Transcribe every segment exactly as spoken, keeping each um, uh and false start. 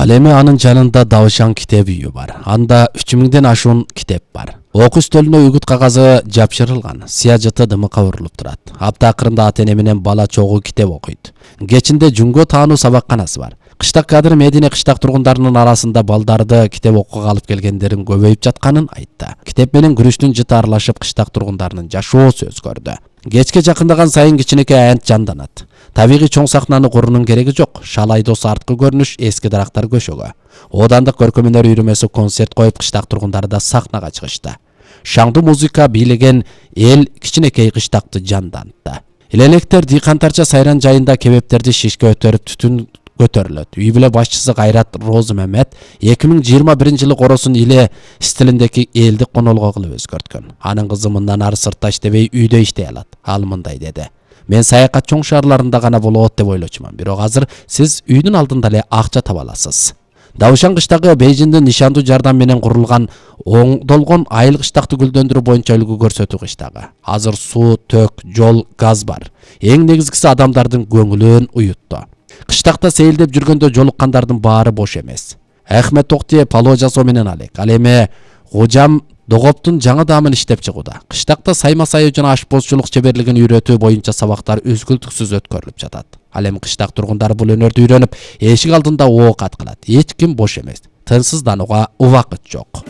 Ал эми анын жанында Давшан китеп үйү бар. Анда үч миңден ашуун китеп бар. Окуу стөлүнө үгүт кагазы жапшырылган, сыяжыты дымыкка урулуп турат. Апта акырында ата-эне менен бала чогуу китеп окуйт. Кечинде Жүнгө таануу сабакканасы бар. Кыштак кадыр Медине кыштак тургундарынын арасында балдарды китеп окууга алып келгендерин көбөйүп жатканын айтты. Китеп менен күрүштүн жыты аралашып кыштак тургундарынын жашоосу өзгөрдү. Кечке жакындаган сайын кичинекей аянт жанданат. Табигый чоң сахнаны курунун кереги жок. Шал айдоосу арткы көрүнүш, эски дарактар көшөгө. Оодандык көркөм өнөр үйрөмөсү концерт коюп кыштак тургундары да сахнага чыгышты. Шаңдуу музыка бийлеген эл кичинекей кыштакты жандантты. Илелектер дыйкантарча сайран жайында кебептерди шишке өтөрүп түтүн көтөрүлөт. Үй бүлө башчысы Кайрат Розу Мемет эки миң жыйырма биринчи жылы коросун иле стилиндеги элди конолго кылып өзгөрткөн. Анын кызы мындан ары сыртта иштебей үйдө иштей алат. Ал мындай деди: "Мен саякат чоң шаарларында гана болот деп ойлочумун. Бирок азыр сиз үйдүн алдында эле акча таба аласыз." Давшан кыштагы Бейжиңдин нишандуу жардам менен курулган оңдолгон айыл кыштакты гүлдөндүрүү боюнча үлгү көрсөтүү кыштагы. Азыр суу, төк, жол, газ бар. Эң негизгиси адамдардын көңүлүн уютту. Кыштакта сейилдеп жүргөндө жолуккандардын баары бош эмес. Ахмет Токтие пало жасоо менен алек. Ал эми Кужам Догоптун жаңы даамын иштеп чыгууда. Кыштакта сайма сайуу жана ашпозчулук чеберлигин үйрөтүү боюнча сабактар үзгүлтүксүз өткөрүлүп жатат. Ал эми кыштак тургундары бул өнөрдү үйрөнүп, эшик алдында оокат кылат. Эч ким бош эмес. Тынчсызданууга убакыт жок.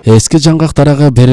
Эски жаңгактарга бери